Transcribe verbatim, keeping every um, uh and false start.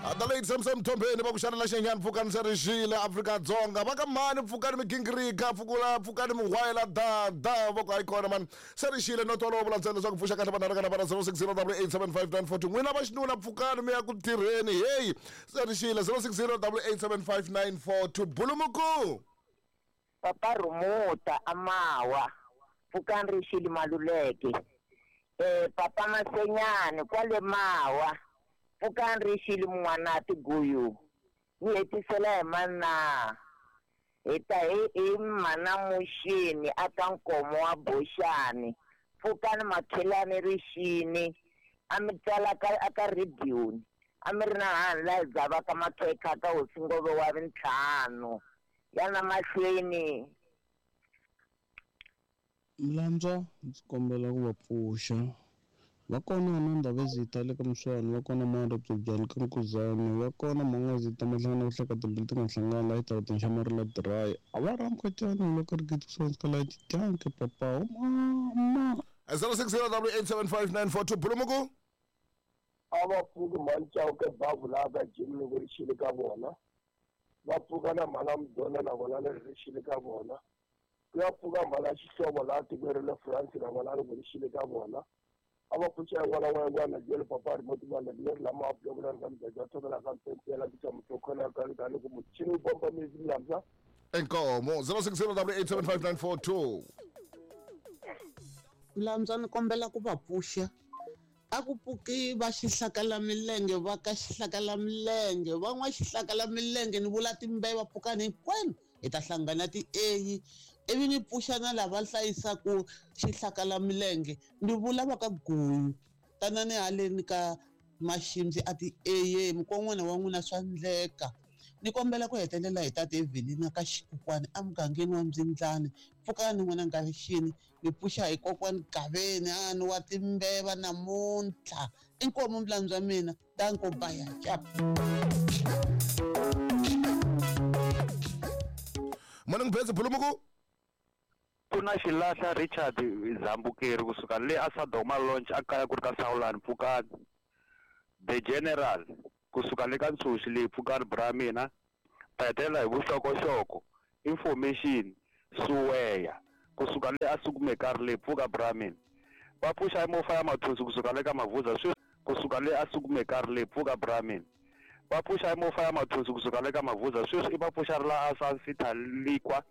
The late Samson Mthombeni va ku xana la xenyani pfukani se ri xile Afrika-Dzonga va ka mani pfukani migingirika pfukula pfukani mihwayela da da va ku hayi kona mani se ri xile no twala vula ntsena leswaku pfuxa kahle vanhu kana vana zero six zero double eight seven five nine four two n'wina va xinuna pfukani mi ya ku tirheni heyi se ri xile zero six zero double eight seven five nine four two bulumuku Papa Rumuta Amawa pfukani ri xile Maluleke eh Papa Masenyani kwale Mawa pfukani ri xile Mun'wanati Guyu ni hetisela hi mana hi ta hi hi mana Muxini aka Nkomo wa Boxani pfukani Makhelani rixini a mi tsala ka aka radio a mi ri na hani laha hi dzavaka makhekha ka hosi Ngove wa vintlhanu ya na mahlweni. Mlandzwa ndzi kombela ku va pfuxa va kona na Ndhavezitha le ka Muswana va kona Mara Byobyani ka Nkuzani va kona Mangazitha Mahlangana ku hleka timbilu ti nga hlangani laha xitarateni xa Marila Dry a va ramukachani loko ri gidi kusuhani ka laha Chitanke papa mama zero six zero double eight seven five nine four two bulumuku a va pfuki mhani Chauke bavu laha ka Jim loko ri xile ka vona va pfuka na mhana Mudona na vona leri ri xile ka vona ku ya pfuka mhana Xihlovo laha tikweni ra le France na vona loko ri xile ka vona a va pfuxa yin'wana na yin'wana jele papa remote man leri lama a pfuka ka mudzaja thobela ka mpempela ku tshama khona ka ka loko muchini wu bomba mezi mlamsa Inkomo zero six zero double eight seven five nine four two Mlamsa ni kombela ku va pfuxa a ku pfuki va xihlakala milenge va ka xihlakala milenge van'wa xihlakala milenge ni vula timbeva pfukani hinkwenu hi ta hlangana ti-A ivi ni pfuxa na lava hlayisaku xihlakala milenge ni vula va ka Guyu tanani haleni ka Maximzi a ti-A mukon'wana wa n'wina swa ndleka ni kombela ku hetelela hi tate Evelina ka Xikukwani emugangeni wa Mbyindlani pfukani n'wana Ngalixini ni pfuxa hi kokwani Gaveni a ni wa timbeva namuntlha inkomu mlandzwa mina danko baya chap. Morning Bese bulumuku kuna xilahla Richard Zambukeri kusuka le a Sadoma Launch a kaya ku ri ka Sawulani pfukani The General kusuka le ka Ntshuxi leyi pfukani bra mina ta hetelela hi vuxokoxoko information suweya kusuka le a Sukumekari leyi pfuka bra mina va pfuxa mofa ya Mathonsi kusuka le ka Mavuza sweswi kusuka le a Sukumekari leyi pfuka bra mina va pfuxa mofa ya Mathonsi kusuka le ka Mavuza sweswi i va pfuxa ri la a Sun City Likwa